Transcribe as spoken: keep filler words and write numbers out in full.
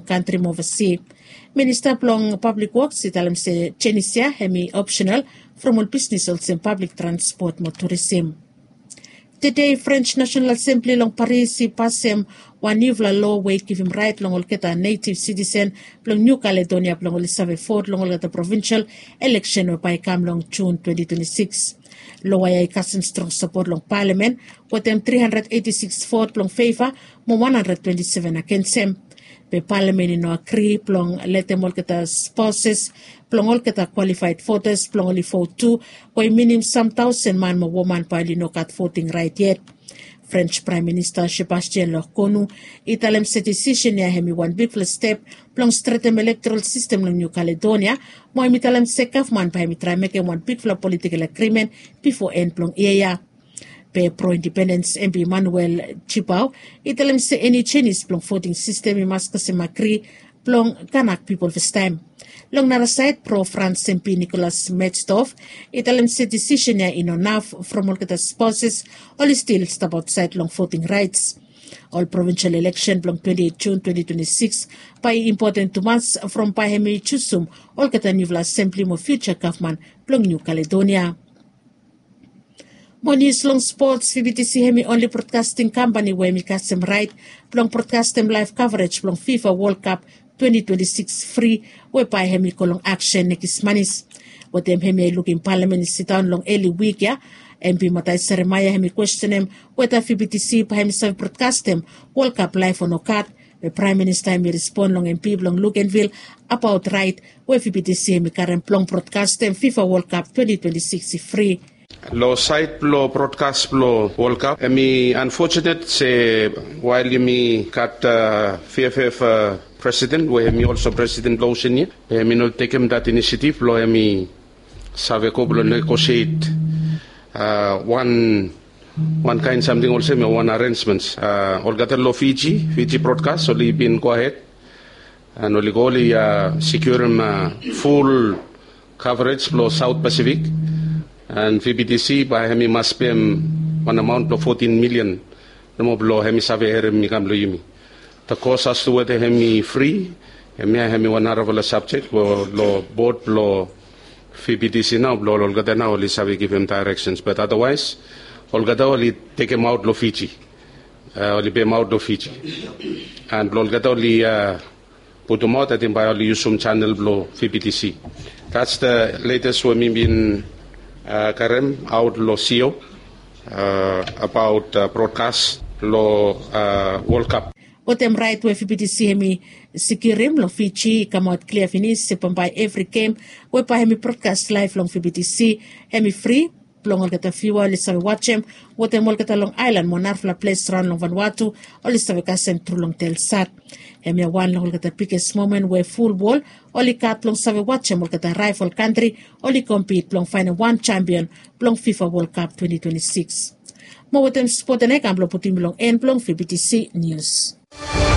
kantri mo ovasi. Minista blong pablik woks i talem se jenis ya hem i opsenal from ol bisnis olsem pablik transpot mo turisim. Tede frens nasenal asembli long paris i pasem wan niufala loa we i givim rait long olgeta netiv sitisen blong niu kaledonia blong oli save vot long olgeta provinsal eleksen we bae i kam long jun twenti twenti sikis. Loa ya i kasem strong sapot long palamen wetem tri handred eti sikis vot blong feva mo wan handred twenti seven agensem. Be palamen i no agri blong letem olgeta sposes blong olgeta kwalifaed votas blong oli vot tu, we i minim sam taosen man mo woman bae oli no gat voting rait yet. Frens praem minista sebastian lokonu i talem se disisen ya hem i wan bigfala step blong stretem elektoral sistem long niu kaledonia, mo hem i talem se gavman bae hem i traem mekem wan bigfala politikal agrimen bifo en blong yia ya. Be pro indipendens embi manuel jibao i talem se eni jenis blong voting sistem i mas kasem agri blong kanak pipol fastaem. Long nara saed pro frans embi nikolas metstof i talem se disisen ya i no naf from olgeta sposes oli stil stap aotsaed long voting raets. Ol provinsal eleksen blong twenti eit jun twenti twenti sikis bae i impoten tumas from bae hem i jusum olgeta niufala asembli mo fiuja gavman blong niu kaledonia. Mo nius long spots vbtc hem i onli brodkasting kampani we hem i kasem rait blong brodkastem laef kavrej blong fifa wol kap twenti twenti sikis fri we bae hem i go long aksen nekis manis. Wetem hem ya i lukim palamen i sidaon long eli wik ya, embi matai seremaia hem i kwestenem weta vbtc bae hem i save brodkastem wol kap laef o nogat. Be praem minista hem i respon long embi blong lukenvil abaot rait we vbtc hem i karem blong brodkastem fifa wol kap twenti twenti sikis i fri. Long saed blong brodkas blong wol kap hem i anfosenet se wael yumi gat vff presiden we hem i olso presiden blong osen ya, be hem i no tekem dat inisetiv blong hem i save go blong negosiet wan wan kaen samting olsem ya wan arensmens. Olgeta long fiji fiji brodkas oli bin gohed an oli go oli sikurim ful kavrej blong saot pasifik. An vbtc bae hem i mas pem wan amaon blong fotin milian nomo blong hem i save herim i kam long yumi. Da kos astu weta hem i fri. Hemia hem i wan narafala sabjek we long bod blong vbtc nao blong olgeta nao oli save givim daereksens bat adawaes olgeta oli tekemaot long fiji. Oli pemaot long fiji an blong olgeta oli putumaot ating bae oli yusum janel blong vbtc. Dats da letes we mi bin karem aot long sio abaot brodkas long wolkap. Wetem raet we vbtc hem i sikirim long fiji i kamaot klia finis se bambae evri gem we bae hem i brodkas laef long vbtc hem i fri blong olgeta viua oli save wajem wetem olgeta long aelan mo narafala ples raon long vanua tu oli save kasem tru long telsat. Hemia wan long olgeta biges momen we ful wol oli gat blong save wajem olgeta raefol kantri oli kompit blong faenem wan jampion blong fifa wol kap twenti twenti sikis. Mo wetem spot ya nao i kam blong putum long en blong vbtc nius.